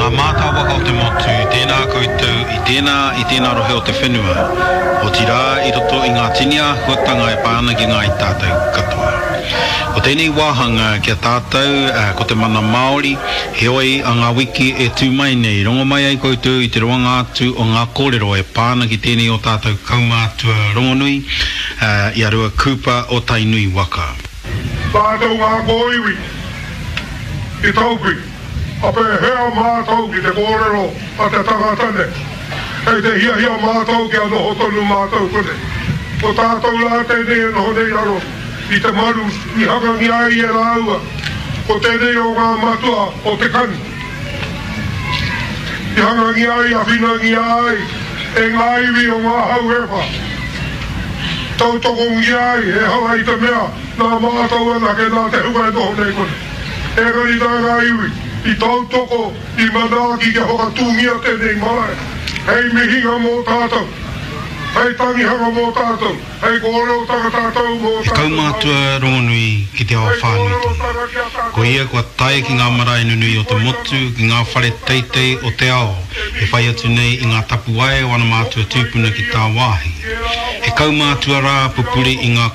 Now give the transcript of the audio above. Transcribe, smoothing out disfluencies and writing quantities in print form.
Ngā mātāwaka o te motu, tēnā koutou i tēnā, i tēnā rohe o te whenua, otirā i roto i ngā tini āhuatanga e pā ana ki ngāi tātou katoa. Ko tēnei wāhanga ki a tātou ko te mana Māori, heoi a ngā wiki e tū mai nei, rongo mai ai koutou i te roanga atu o ngā kōrero e pā ana ki tēnei o tātou kaumātua rongonui, i a Rua Cooper o Tainui waka. Tātou ngā kōiwi i taupi, ka pēhea mātou ki te kōrero a te tangata nei? Kei te hiahia mātou kia noho tonu mātou konei. Ko tātou rā tēnei e noho nei raro i te maru i hangangia ai e rāua, ko tēnei o ngā matua o te kani. I hangangia ai, awhinangia ai e ngā iwi o ngā hau e wha. Tautokongia ai, ehara i te mea nā mātou anake nā te hunga e noho nei konei. Engari nā ngā iwi i tautoko, i manaaki kia whakatūngia tēnei marae hei mihinga mō tātou, hei tangihanga mō tātou. Hei kōrerotanga tātou mō He tātou kaumātua Māori. rongonui ki te ao Hei whānui tonu. kōrerotanga ki a tātou Ko ia kua tae ki ngā marae nunui o te motu, ki ngā whare teitei o te ao, e whai atu nei i ngā tapuwae o ana mātua tūpuna ki tāwāhi. He kaumātua rā pupuri i ngā.